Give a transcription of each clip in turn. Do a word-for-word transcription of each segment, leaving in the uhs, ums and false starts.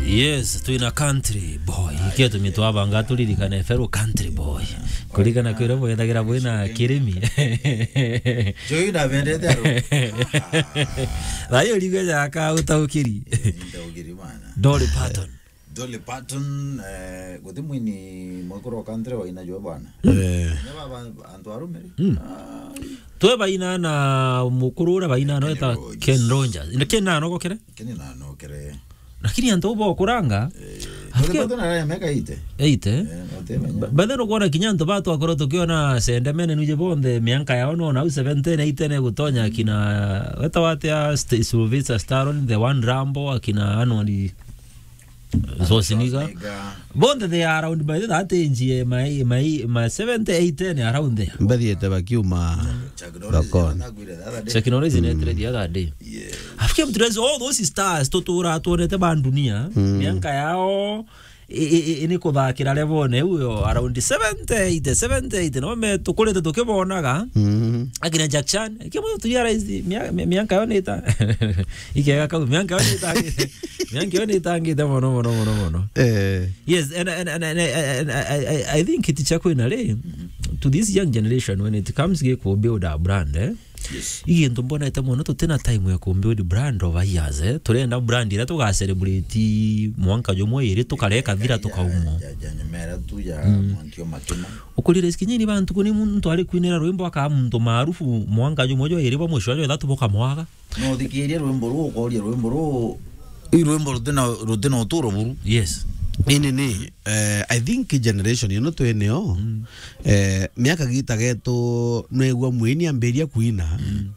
Yes, twina country boy. Ikio tumi twabanga turirikane fellow country boy. Kuririkana kwira bwethagira bwina kirimi. Joy na bendete aro. Rayo rigo jaka utaukiri. Nitaukiri bana. Dolly Parton. Dolly Parton, eh, guti mwini mwekuru wa country waina jo bwana. Eh. Nya baba antu arume ri? Mm. Ah. Twe baina na mukuru uria baina no Kenny eta Rogers. Ken Rogers. Ina Ken na no gokere? Ken na no kere. Lakini antu bo kuranga. Eh, afike Dolly Parton ara miaka eighty. Eighty? Eh, no te banya. Ba-, but then ukwona kinya antu ba twakorwo tukiona sendemene nuje bonthe mianka yao no nau seventy na eighty ne gutonya kina weta wate a St-, Sylvester Stallone, the one Rambo, akina Arnold Schwarzenegger. Schwarzenegger. Bonthe they are around by that age, eh, my, my, my seventy, eighty and around there. Mbathiete bakiuma Chuck Norris thokoni. Chuck Norris netire the other day. Yeah. Afike mtu all those stars tutura tuonete ba dunia. Mm. Mianka yao i, i, i, ni kuthakira level ne uyo around seventy, eighty, seventy, eighty. No me tukurite tukibonaga. Mm. Akina Jack Chan, kimo tu realize mia-, mia-, mianka yo nita. Ikega kau, mianka yo nita. Mianka yo nitangite mono, mono, mono, mono. Eh. Yes, and, and, and, and, and, and I, I, I think kiti cha kwina ri, to this young generation, when it comes to build a brand, eh? Yes. Igintu mbonete mono tutina time ya ku build brand over years, eh? Turenda brand ira tuga celebrate mwanka jumwe iri tukareka thira tukaumo. Ja, ja, nyemera tu ya mwanki o makima. Ukurire sikinyini bantu kuni muntu ari kwinira rwimbo aka muntu maarufu mwanka jumwe jo iri bo mwisho jo ithatu bukamwaga. No uthikirie rwimbo ruu, ukoria rwimbo ruu, i rwimbo rutina, rutina uturo buru. Yes. Ini ni, eh, I think generation ino twinio, mm, eh, miaka gita getu nwegua mwini ambiria kuina. Mm.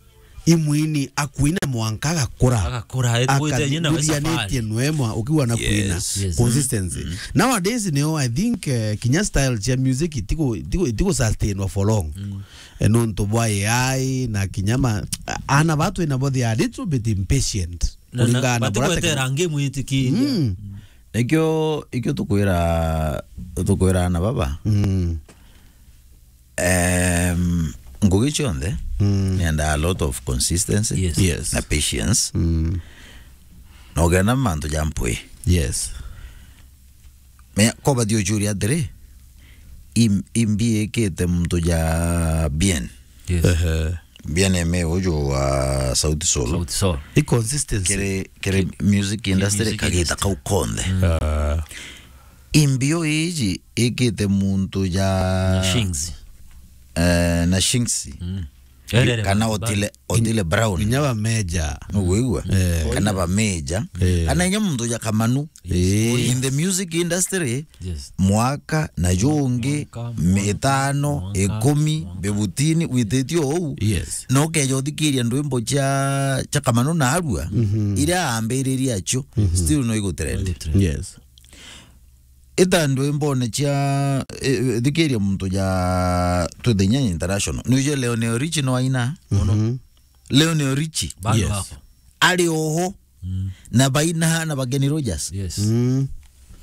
I mwini akuina mwanka agakura. Agakura, eh, twite nyina we safari. Akathuthurianitie nwemwa ukiwa na kuina. Yes. Yes. Consistency. Mm. Nowadays nio, I think, eh, kinya style cia music itiku, itiku, itiku sustainwa for long. Mm. Eh, nontu bwa A I na kinya ma-, ana ba twina bo, they are a little bit impatient. Na, na, kuringana na buria batikwetera tekno-, ngi mwitikiria. Mm. Nikio, ikio tukwira, tukwira ana baba. Mm. Em, ngugi cionthe, mm, nenda a lot of consistency, yes, yes, na patience. Mm. Na ugenda mantu ja mpwi. Yes. Me, ko bathi uchuria atiri, im-, imbi ikite muntu ja bien. Yes. Ehe. Bien eme uju wa Sauti Sol. Sauti Sol. I consistency. Kiri, kiri music industry music kagita industry kau konthe. Mm. Ah. Imbio iji ikite muntu ja na Shings. Eh, na Shings. Mm. Erere kana ba- Otile, Otile Brown. Kinya ba Meja. Nugwigua? Eh. Kana ba Meja. Eh. Kana inya muntu ja Kamanu. Yes. Eh. In the music industry, yes, mwaka na jungi, mwaka, mitano, mwaka, ikumi, mwaka, bibutini, wititio ou. Yes. No ukeja uthikiria ndwimbo cia, cia Kamanu na Arua, mhm, iria ambiririe acio, mhm, still no igutrend. Igutrend. Yes. Ita ndwimbone cia, eh, thikiria muntu ja Twithinya International. Nuje Lionel Richie no aina? Mhm. Lionel Richie. Bado, yes, hapo. Ari oho. Mm. Na baina na bageni Rogers. Yes. Mm.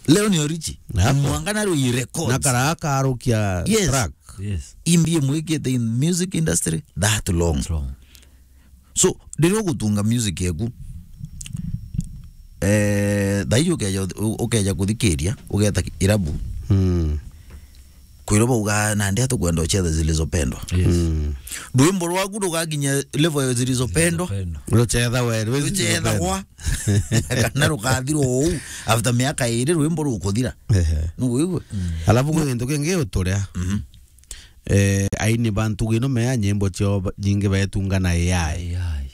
Lionel Richie. Hapo. Mwanga na Rui Records. Na karaka arukia, yes, track. Yes. Imbi mwikite in music industry that long. That long. So, riria ugutunga music yaku, eh, thaiji ukeja, ukeja kuthikiria, ugeta irabu. Mm. Kwirwo bauga, "Nandi atukwenda uchetha zilizopendwa." Yes. Mm. Rwimbo rwaku rugakinya level ya zilizopendwa. Zilizopendwa. Rucetha we, rwi-, rucethagwa. Kana rukathirwo uu after miaka iri rwimbo rukuthira. Ehe. Nuguigua? Mm. Alafu kwi gintu kingi uturia. Mhm. Eh, aini ba ntugi ino mea nyimbo ciao ba-, nyingi baetunga na A I. A I.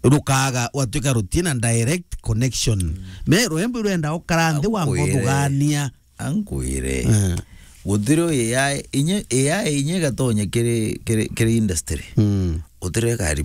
Rukaga, watwika rutina direct connection. Mm. Me rwimbo rwenda ukara nthi wa nkuire, nguthugania. Ankwire. Eh. Gutiri A I, inya, A I inya igatonya kiri, kiri, kiri industry. Mm. Gutiri ka